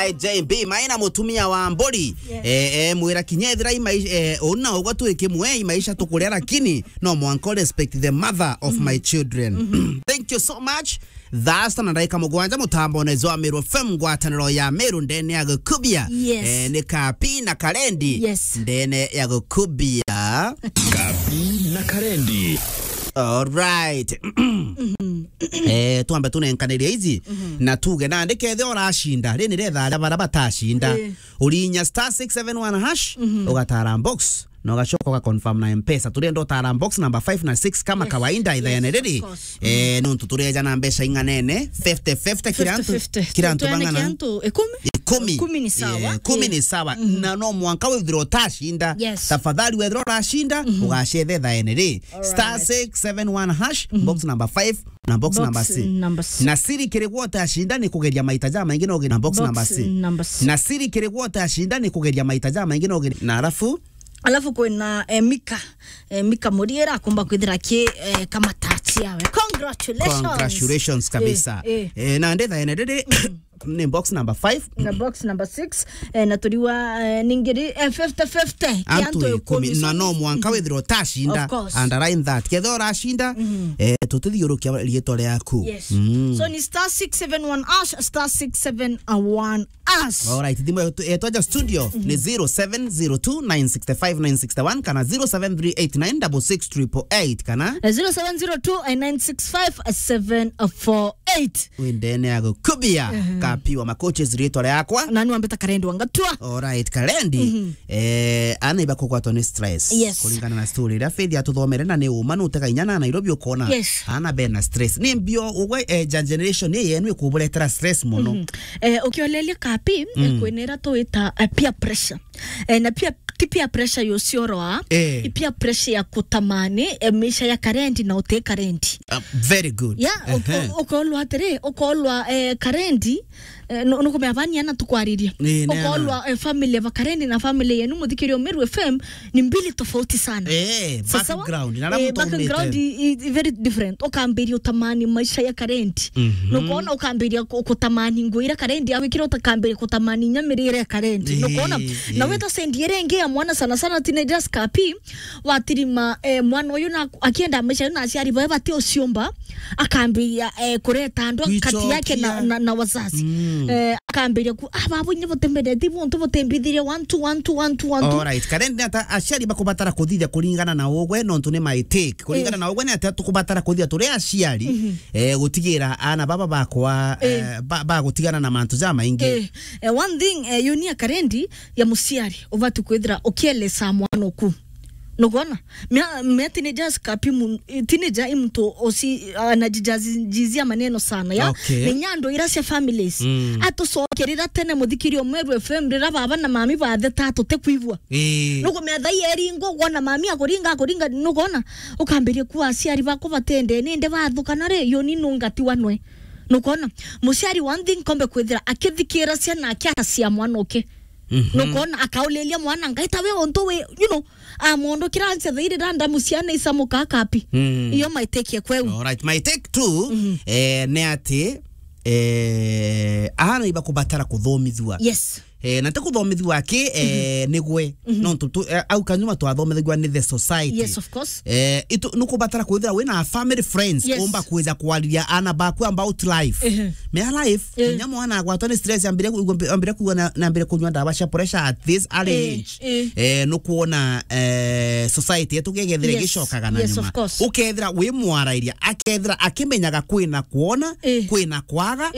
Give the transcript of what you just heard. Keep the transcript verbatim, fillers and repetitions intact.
J B, maina mutumia wa mburi. Yes. Eh, eh, mwira kinya ethira imai-, eh, una ugwa twi kimwe, imaisha tukuria, lakini no mwanka respect the mother of my children. Thank you so much. Thaa sita na ndagika mugwanja, mutambone jwa Meru F M, ngwataniro ya Meru ndene ya Gukubia. Yes. Eh, ni Kapi na Karendi. Yes. Ndene ya Gukubia. Kapi na Karendi. All right. Eh, twambe tunenkanirie ici, na tuge nandi kethe uracinda, ri ni retha aria bara batacinda. Eh. Urinya star six seven one hash, ugatara box, na ugacoka uga confirm na Mpesa. Turenda utara box number five na six kama kawaida, ithaene riri. Yes, of course. Eh, nontu tureja na mbeca ing'anene, fifty fifty, kira antu, fifty fifty. Kira antu bang'ana? Kira antu ikumi? Ikumi. Ikumi ni sawa. Eh, ikumi ni sawa. Na no mwanka withirwa utacinda. Yes. Tafadhali wethirwa uracinda, ugacethe ithaene ri. All right. Star six seven one hash, box number five, na box number six. Number six. Na siri kiri gwa utacinda ni kugeria maita jamaingi na uge-, na box number six. Number six. Na siri kiri gwa utacinda ni kugeria maita jamaingi na uge-, na alafu Alafu kwina, eh, Mika. Eh, Mika Muriera akomba kwithira ki, eh, kama touch yawe. Congratulations. Congratulations kabisa. Eh, eh. Eh, na ndetha ene riri ni box number five. Na box number six, eh, na turiwa, eh, ningiri, eh, fifty fifty. Antu ikumi, na no mwanka withirwa utacinda. Of course. Underline that. Ketha uracinda, eh, tutithiurukia riitwa riaku. Yes. So ni star six seven one hash, star six seven one hash. All right, thimu yetu, yetu ya studio ni zero seven zero two nine six five nine six one kana zero seven three eight nine six six triple eight kana Eh, zero seven zero two nine six five seven four eight. Windene ya Gukubia, Kapi wa Makoches riitwa riakwa. Na ni wambita Karendi wa Ngatua. All right, Karendi. Eh, ana iba kugwatwa ni stress. Yes. Kuringana na story iria Faith atuthomere, na ni uma nutega inya na Nairobi ukona. Yes. Ana bena stress. Ni mbio ugwe, eh, ja generation ni yenu ikuburetera stress muno. Eh, ukiolelia Kapi, eh, kwinera tuita, eh, peer pressure. Eh, na pia, ti peer pressure yo cioroa, eh, i peer pressure ya kutamani, eh, maisha ya Karendi na uti Karendi. Uh, very good. Yeah, uko-, ukolwa atiri, ukolwa, eh, Karendi, eh, nu-, nukumea bani ana tukwariria. Eh, ni ana. Ukolwa, eh, family ya Karendi na family yenu muthikirio Meru F M ni mbili tofauti sana. Eh, sawa? Background, na eh, background i, i very different. Ukambiria utamani maisha ya Karendi. Nukwona ukambiria ku-, kutamani nguo iria Karendi awikira, ukambiria kutamani inya mirire ya Karendi. Eh, nukwona? Eh. Na weta sendi iria ingi ya mwana, sana sana teenagers, Kapi, watirima, eh, mwana uyu na akienda maisha na aciari bae bati uciumba, akambiria, eh, kureta andu kati yake na, na, na wazazi. Eh, akambiria ku, "Ah, baba, inye butembere, ti muntu butembithirie one two, one two, one two, one two." All right. Karendi ata aciari bakubatara kuthithia kuringana na ugwe, nontu ni my take. Kuringana na ugwe ni atia tukubatara kuthia turi aciari, eh, gutigira ana baba bakwa, eh, ba-, bagutigana na mantu jamaingi? Eh, eh, one thing, eh, yunia Karendi ya muciari, ubati kwithira ukielesa mwana uku. Nukwona? Mea, mea teenagers, Kapi mu-, teenager i muntu uci-, anajijazia maneno sana, ya? Okay. Ni nyandu ira cia families. Atucokerera tene muthikirio Meru F M rira baba na mami batheta tutikwigua. Eh. Nukumea thaa ii eringo, wona mami akuringa, akuringa, nukwona? Ukambiria kuwa aciari baku batende, ninde bathukana ri, yoni nungatiwa nwe. Nukwona? Muciari one thing kombe kwithira akithikira ciana ake atacia mwana uke. Nukwona? Akaulilia mwana, "Ngai, ta we untu wi, you know, a mundu kira nse thairi randa muciana isamuka Kapi." Iyo my take ya kweu. All right, my take two, eh, ni ati, eh, ana iba kubatara kuthomithua. Yes. Eh, na ti kuthomithua aki, eh, nigwe. Nontu tu, eh, au kanyuma twathomithagua ni the society. Yes, of course. Eh, itu, nukubatara kwithira wina family friends, yes, umba kwija kwariria ana baku about life. Mea life, eh, kinya mwana agwatwa ni stress, ambire ku-, ambire kunywa na, na ambire kunywa ndawa cia pressure at this early age. Eh, nukwona, eh, society yetu gegethire, yes, gicokaga na, yes, nyuma, of course, ukethira wi mwarairia, akethira akimenyaga kwina kwona, eh, kwina kwaga,